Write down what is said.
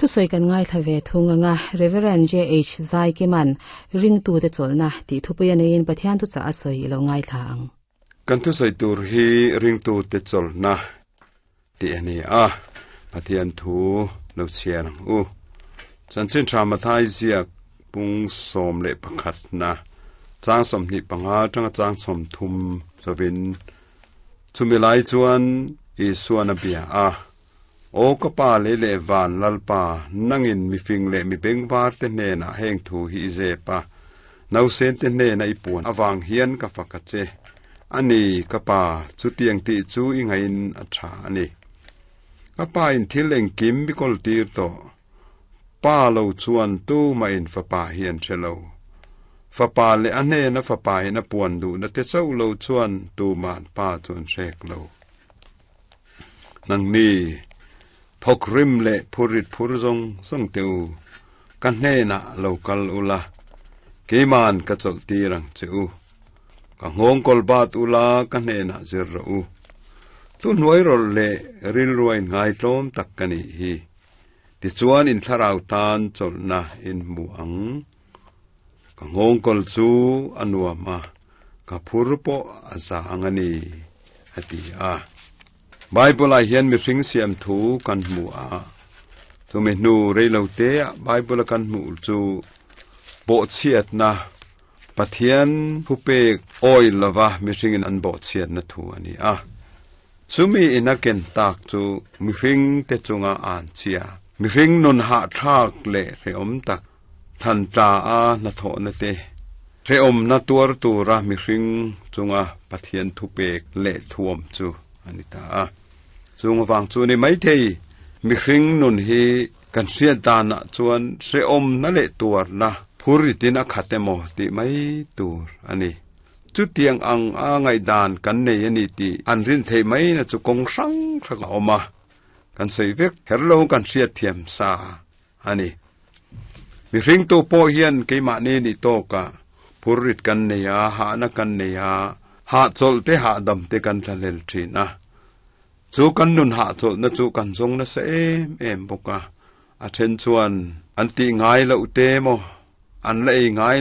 Thusawi kan ngaithla ve thung anga Rev. JH Zaikiman Ringtute chawlhna tih thupui a neiin Pathian thuchah a sawi i lo ngaithla ang. Kan thusawi tur hi Ringtute chawlhna tih a ni a, Pathian thu lo chhiar ang u. Chanchin Tha Mathai ziak pung 11 na chang 25 atanga chang 30 chovin chumi lai chuan Isuan a bia a, Aw ka Pa lei leh van Lalpa, nangin mi fing leh mi bengvar te hnenah heng thu hi i zep a, nausen te hnena i puan avang hian ka fak a che. A ni, ka Pa, chutiang tih chu i ngaihin a tha a ni. Ka Pa in thil engkim mi kawl tir tawh. Pa lo chuan tumah in fapa hi an hre lo. Fapa leh a hnena fapa in a puan duhna te chauh lo chuan tuma'n Pa chu an hrek lo. Nangni, thawk rim leh phurrit phur zawng zawng teh u, ka hnenah lo kal ula, keima'n ka chawlh tir ang che u. Ka nghawng kawl bat ula ka hnenah zir rawh u. Tu hnuai rawlh leh rilrua inngaitlawm tak ka nih hi. Tichuan in thlarau tan chawlhna in hmu ang. Ka nghawng kawl chu a nuam a, ka phur pawh a za ang a ni, a ti a. Bible-ah hian mihring siam thu kan hmu a, chumi hnu reiloteah Bible-a kan hmuh chu bawhchhiatna, Pathian thupek awih lova mihringin an bawhchhiatna thu a ni a. Chumi ina ken tak chu mihringte chunga an chhia, mihring nun hahthlak leh hrehawm tak, Thlan tla a hnathawhna te, hrehawmna tuar tura mihring chunga Pathian thupek leh thuam chu a ni ta a. Chung avang chu ni maithei, mihring nun hi kan hriat danah chuan hrehawmna leh tuarna phurritin a khat emaw tih mai tur a ni. Chutiang ang a ngaihdan kan nei a ni tih an rin theih maina chu kawng hrang hrang a awm a, kan sawi vek kher lo kan hriatthiam sa a ni. Mihringtu pawh hian keimahni nih tawkah phurrit kan nei a, hahna kan nei a, hahchawlh te hahdam te kan thlahlel thin a. Chu kan nun hahchawlhna chu kan zawng nasa em em bawk a, a then chuan an tih ngai loh te maw, an la ei ngai loh.